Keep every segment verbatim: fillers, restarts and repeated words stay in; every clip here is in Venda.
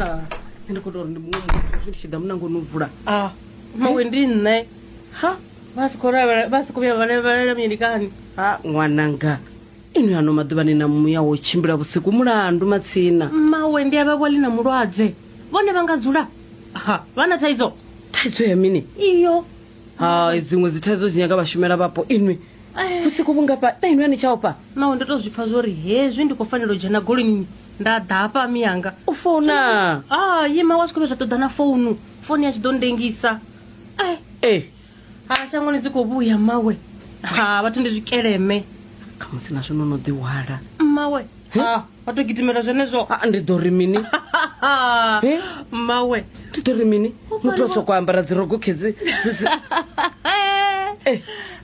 Nṋe ndi khou tou uri ndi muṅwe muthu zwi ndi tshi ḓa munangoni u vula. A mawe ndi nṋe. Ha Vha si khou lavhela, vha si khou vhuya vha lavhelela mini kani? Ha ṅwananga, inwi ano maḓuvha ni na muya wo tshimbila vhusiku mulandu matsina. Mawe ndi a vha vhali na mulwadze. Vhone vha nga dzula. Ha, vha na thaidzo. Thaidzo ya mini? Iyo. Hai, dziṅwe dzi thaidzo dzi nyaga vhashumela vhapo inwi. Eh. Vhusiku vhungafha na inwi a ni tsha ofha? Mawe ndo to zwi pfa zwori hezwi ndi khou fanela u dzhena goloini nda ḓa hafha miyanga. U founa. Ah, ye mawe a zwi khou vhuya zwa ṱoḓa na founu. Founu ya tshi ḓo ndengisa. Eh, Eh, ha shangoni dzi khou vhuya mawe. Ha, vhathu ndi zwikeleme. khamusi na zwino no ḓi hwala. Mawe. Ha, vha to gidimela zwenezwo. Ah, ndi ḓo ri mini? Eh? Mawe. Ndi ḓo ri mini? Muthu o sokou ambara dzirogo khedzi. dzi- dzi- Eh.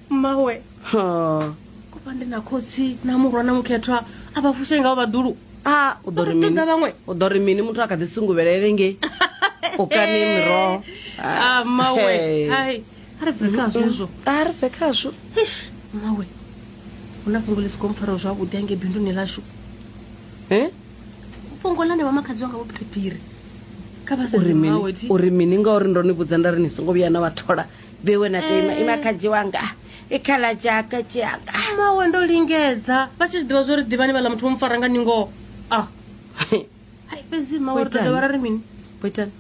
Mawe. Ha. Kufha ndi na khotsi na murwa na mukhethwa a vha fushe ngao vhaḓulu. Ah, u ḓo ri mini? Ṱoḓa vhaṅwe. U ḓo ri mini muthu a kha ḓi sunguvhelele ngei? U kani miroho. Ah, mawe. Hey. Hai. A ri bve kha zwezwo. A ri bve khazwo. Eish, mawe. Hu na fhungo ḽi si khou mpfaraho zwavhuḓi hangei binduni ḽashu. Eh? Fhungo ḽa ne vha makhadzi wanga vho phiriphiri. Kha vha Uri sedze mini? mawe thi. Uri mini ngauri ndo ni vhudza nda ri ni songo vhuya na vha thola. Bewe na tema ima khadzi wanga. Ikhala tshaka tshaka. Mawe ndo lingedza vha tshi zwi ḓivha zwori ḓivhani vhaḽa muthu vho mpfara nga ningo. Ah. Hai, fhedzi mawe ri ḓo dovha ra ri mini? Boitani.